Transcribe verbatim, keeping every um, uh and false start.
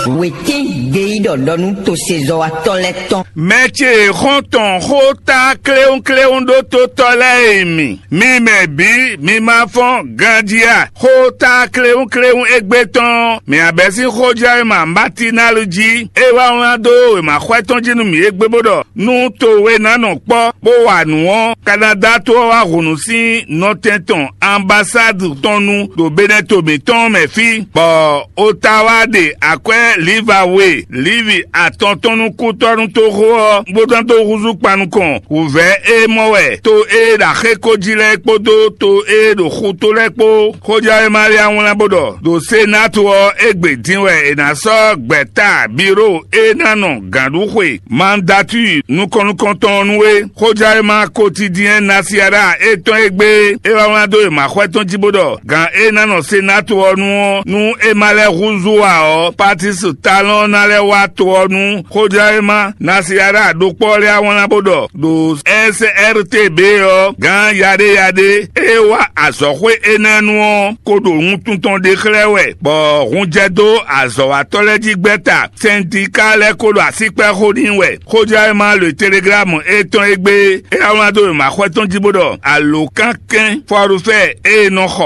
Wětín gbeyíɖɔ ɖɔ nú tosezɔ́watɔ́ lɛ́ɛ tɔn. Mɛ ce e xɔ́n tɔn xó tá kléwúnkléwún ɖó totɔ́ lɛ́ɛ e mi, mi mɛ bǐ mi ma fɔ́n ganjí a? Xó tá kléwúnkléwún égbé tɔn, mi abɛ́ sín xójɛ́wéma Matinali jí, é wá wlán dó wěmaxwɛ tɔn jí nú mì égbé bó ɖɔ: Nú towe ná nɔ kpɔ́ bó wa nǔ ɔ́, Kanadá to ɔ́ wá hǔnú sín nɔtɛn tɔn anbasádu tɔn nu ɖo Benɛto mǐtɔn mɛ fí, bɔ Otawa ɖe akwɛ́ Livawe Livi atɔn tɔn nú kútɔ́nútoxo ɔ́, bó dán dó húzú kpan nukɔn wǔvɛ́ e mɔ wɛ to e ɖo axéko jí lɛ́ɛ kpódó to e ɖo xutó lɛ́ɛ kpó. Xójɛwéma lɛ́ɛ wlán bó ɖɔ: Ɖo Senátu ɔ́ égbé din wɛ è nǎ sɔ́ gbɛ̌ta biro e ná nɔ gǎnɖuxwe mandatúi nukɔn nukɔn tɔn ɔ́ nú we. Xójɛwéma kotidiɛn Nasiaɖa étɔn e gbé é wá wlán dó e maxwɛ tɔn jí bó ɖɔ: Gǎn e ná nɔ Senátu ɔ́ nu ɔ́, nú é ma lɛ́ húzú ǎ ɔ́, Patísi Talɔ́n ná lɛ́ wá to ɔ́ nu. Xójɛwéma Nasiaɖa ɖokpó ɔ́ lɛ́ wá wlán bó ɖɔ: Ɖo S R T B ɔ́, gǎn yaɖéyaɖé e wá azɔ̌xwé énɛ́ nu ɔ́ ko ɖo wuntun tɔn ɖe xlɛ́ wɛ, bɔ hun jɛ dó azɔ̌watɔ́ lɛ́ɛ jí gbɛ́ta. Sɛndika lɛ́ɛ ko ɖo asíkpɛ́ xó n'i wɛ. Xójɛwéma Le Teleglámu étɔn e gbé é wá wlán dó wěmaxwɛ tɔn jí bó ɖɔ: Alǒkankɛ́n fɔ́ɖúfɛ́ e è nɔ xɔ